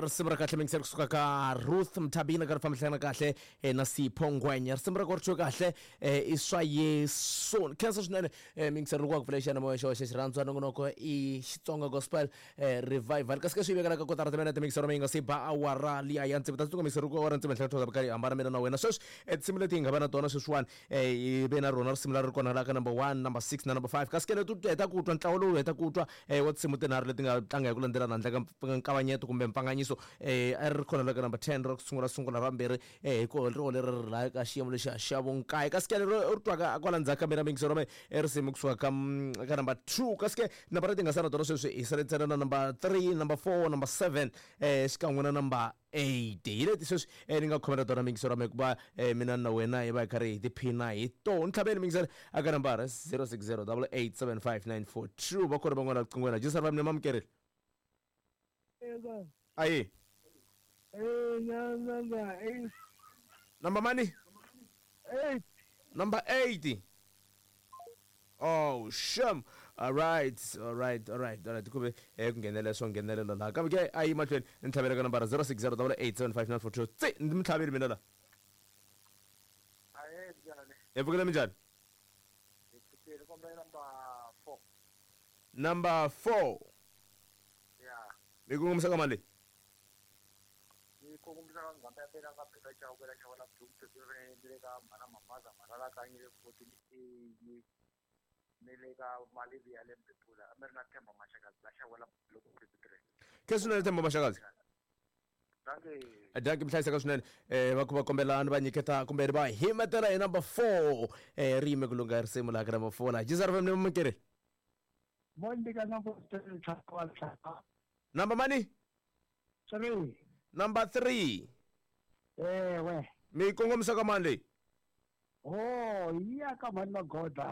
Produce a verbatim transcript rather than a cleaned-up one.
Risimu ra kahle mingiseri kusuka ka Ruth Mthabina ka ri fambisana kahle eh, na Sipho Ngwenya. Risimu ra ku ri kahle eh, i swa Yesu. Khensa swinene eh, mingiseri loko wa ku pfula xiyanimoya xo xa xirhandzwa nongonoko i Xitsonga Gospel eh, Revival. Kasi ke swi vekela ka kotara timinete mingiseri mi nga se ba awara liya ya tsevu. Ta tsundzuka mingiseri loko awara tsevu henhla ka thoza karhi hambana mina na wena. Sweswi eh, tinsimu leti hi nga va na tona sweswiwani eh, hi ve na rona risimu leri ri kona la ka number one, number six na number five. Kasi ke leti u heta ku twa ntlawa lowu heta ku twa eh, wa tinsimu tinharhu leti nga tlanga hi ku landzelana handle ka nkavanyeto kumbe mpfanganyiso eh, a ri kona la ka number ten ra ku sungula sungula ra vumbirhi eh, hi ko ro leri ri la ka xiyimo lexiya xa vunkaye. Kasi ke lero u ri twaka kwala ndzhaku ka mina mingisero me i risimu kusuka ka mm, ka number two. Kasi ke nambara leti nga sala tona sweswi hi sale ntsena na number three, number four, number seven eh, xikan'we na number eight. Hi leti sweswi eh, ni nga khomela tona mingisero me hikuva eh, mina na wena hi va hi karhi hi tiphina hi tona. Ntlhaveni mingisero aka nambara zero six zero double eight seven five nine four two. Va kona van'wana riqingweni jisar va mina mamukerile. Eka. Ayi. Eh, number eight. Number mani? Eight. Number eight. Oh, shame. All right, all right, all right, all right. Kube eh ku nghenelela swo nghenelela laha. Kambe ke a yi mahlweni ni ntlhavela ka nambara zero six zero double eight seven five nine four two. Tsi, ndzi mi tlhaveli mina la. Ahe, njhani? Hi pfukile minjhani? Hi pfukile, kombela number four. Number four. Yeah. Mi kongomisa ka mani leyi? Ni kongomisa ka nghamba ya mina ka Beka Chauke la Xawela Blue, ni le ka Mhana Mamaza, Mhana la Kanye, fourteen A, ni le ka Malivi ya le Mbebula, a mi ri na Themba Mashakazi la Xawela Blue fifty-three. Ke swinene Themba Mashakazi. Dankie. Dankie mi hlayiseka swinene. Eh, va ku va kombela ni va nyiketa kumbe ni va himetela hi number four. Eh, ri yime ku lungha risimu laha ka number four laha. Jisar F M ni mamukeri. Mondika number three, tlhaka tlhaka. Number mani? Three. Number three. Ewe. Mi kongomisa ka mani leyi? Oh, iya ka mani Magoda.